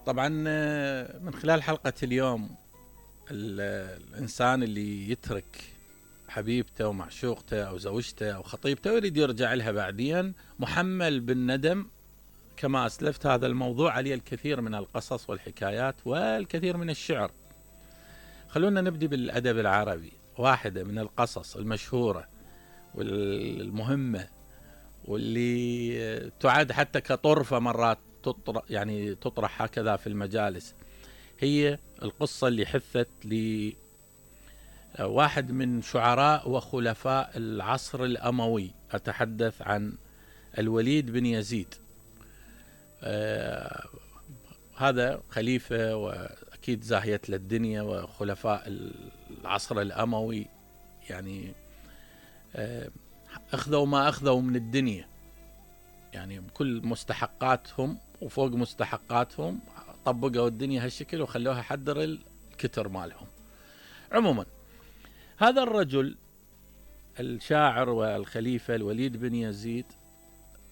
طبعا من خلال حلقة اليوم الإنسان اللي يترك حبيبته ومعشوقته أو زوجته أو خطيبته ويريد يرجع لها بعدين محمل بالندم. كما أسلفت هذا الموضوع عليه الكثير من القصص والحكايات والكثير من الشعر. خلونا نبدأ بالأدب العربي. واحدة من القصص المشهورة والمهمة واللي تعد حتى كطرفة مرات تطرح هكذا في المجالس، هي القصة اللي حثت لواحد من شعراء وخلفاء العصر الأموي. أتحدث عن الوليد بن يزيد. هذا خليفة وأكيد زاهية للدنيا، وخلفاء العصر الأموي يعني أخذوا ما أخذوا من الدنيا، يعني بكل مستحقاتهم وفوق مستحقاتهم طبقوا الدنيا هالشكل وخلوها حدر الكتر مالهم. عموما هذا الرجل الشاعر والخليفة الوليد بن يزيد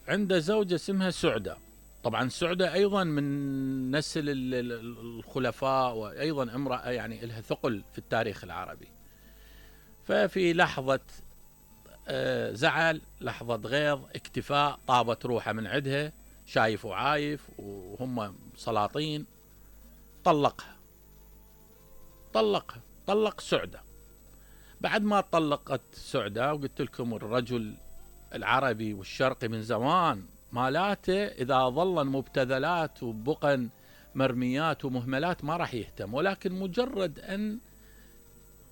عنده زوجة اسمها سعدة. طبعا سعدة أيضا من نسل الخلفاء، وأيضا امرأة يعني لها ثقل في التاريخ العربي. ففي لحظة زعل، لحظة غيظ، اكتفاء، طابت روحه من عدها، شايف وعايف وهم سلاطين، طلق سعدة. بعد ما طلقت سعدة، وقلت لكم الرجل العربي والشرقي من زمان مالاته إذا ظلن مبتذلات وبقن مرميات ومهملات ما راح يهتم، ولكن مجرد أن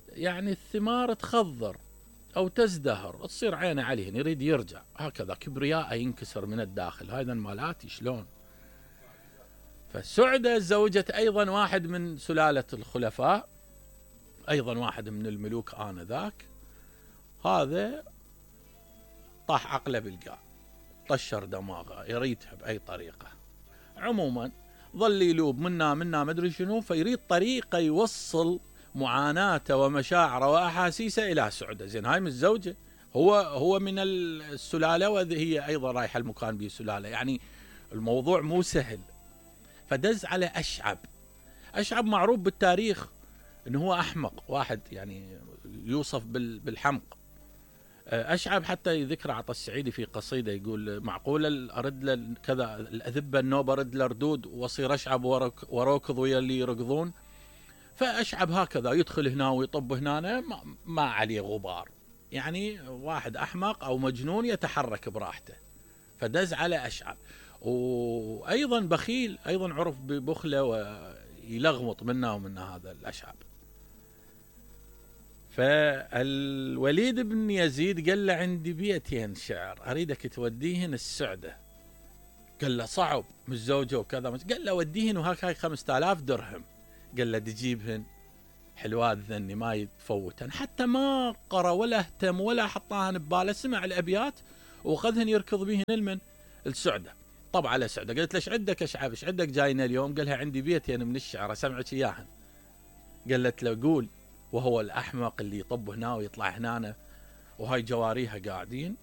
يعني الثمار تخضر أو تزدهر تصير عينه عليهن يريد يرجع، هكذا كبرياء ينكسر من الداخل. هذا مالاتي شلون. فسعدة زوجت أيضا واحد من سلالة الخلفاء، أيضا واحد من الملوك آنذاك. هذا طاح عقله بالقاع، طشر دماغه، يريدها بأي طريقة. عموما ظل يلوب منا ما أدري شنو، فيريد طريقة يوصل معاناته ومشاعره وأحاسيسه إلى سعدة. زين هاي من الزوجة، هو من السلالة وهي أيضا رايحة المكان به سلالة، يعني الموضوع مو سهل. فدز على أشعب معروف بالتاريخ إنه هو أحمق واحد، يعني يوصف بالحمق. أشعب حتى يذكر عطا السعيدي في قصيدة يقول: معقولة أرد له كذا الأذبة النوب أرد له ردود وأصير أشعب وروكض ويا اللي يركضون. فأشعب هكذا يدخل هنا ويطب هنا، ما عليه غبار، يعني واحد أحمق أو مجنون يتحرك براحته. فدز على أشعب. وأيضا بخيل، أيضا عرف ببخله ويلغمط منا ومنا هذا الأشعب. فالوليد بن يزيد قال له: عندي بيتين شعر أريدك توديهن السعدة. قال له: صعب مش زوجه وكذا. قال له: وديهن وهاي 5000 درهم. قال له: تجيبهن حلوات ذني ما يتفوتن. حتى ما قرأ ولا اهتم ولا حطاهن بباله، سمع الأبيات وخذهن يركض بيهن المن السعدة. طب على سعدة قالت له: ايش عندك أشعب، ايش عندك جاينا اليوم؟ قالها: عندي بيتين من الشعر أسمعك إياهن. قالت له: قول. وهو الأحمق اللي يطب هنا ويطلع هنا وهاي جواريها قاعدين.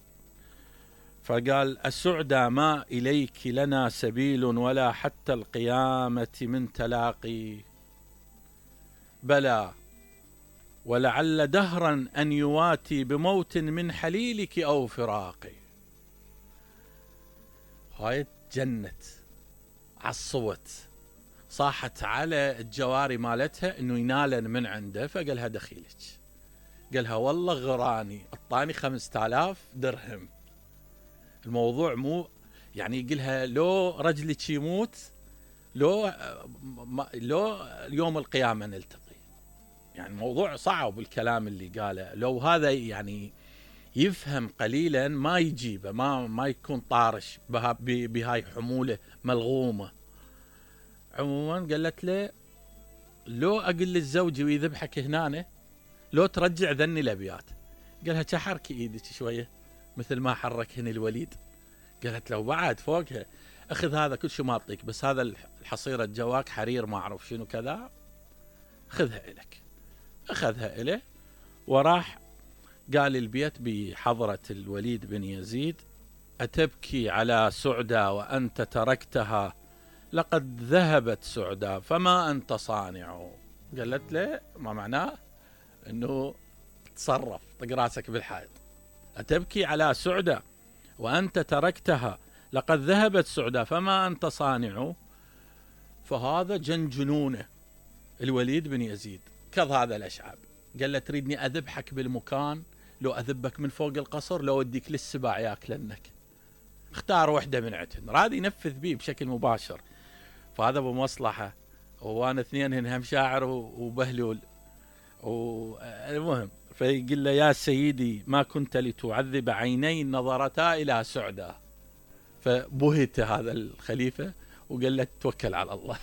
فقال: السعدى ما إليك لنا سبيل، ولا حتى القيامة من تلاقي، بلى ولعل دهرا أن يواتي بموت من حليلك أو فراقي. هاي جنت، عصوت، صاحت على الجواري مالتها انه ينالن من عنده. فقالها: دخيلك. قالها: والله غراني اعطاني 5000 درهم. الموضوع مو يعني يقولها لو رجلك يموت، لو يوم القيامة نلتقي. يعني الموضوع صعب الكلام اللي قاله. لو هذا يعني يفهم قليلا ما يجيبه، ما يكون طارش بهاي حمولة ملغومة. عموما قالت له: لو أقل للزوج ويذبحك هنا، لو ترجع ذني الأبيات. قالها: تحركي إيدك شوية مثل ما حركهن الوليد. قالت له: بعد فوقها أخذ هذا كل شيء ما أعطيك، بس هذا الحصيرة جواك حرير ما أعرف شنو كذا، خذها إلك. أخذها إله وراح قال البيت بحضرة الوليد بن يزيد: أتبكي على سعدى وأنت تركتها لقد ذهبت سعدى فما أنت صانع. قالت له ما معناه أنه تصرف، طق راسك بالحائط، أتبكي على سعدى وأنت تركتها، لقد ذهبت سعدى فما أنت صانع. فهذا جنونه الوليد بن يزيد كظ هذا الأشعاب، قال له تريدني أذبحك بالمكان، لو أذبك من فوق القصر، لو أوديك للسباع ياكلنك، اختار وحدة من عندهن. راد ينفذ به بشكل مباشر. فهذا بمصلحة، وانا اثنين هم شاعر وبهلول. المهم فيقول له يا سيدي ما كنت لتعذب عيني نظرتا إلى سعدى. فبهت هذا الخليفة وقال له توكل على الله.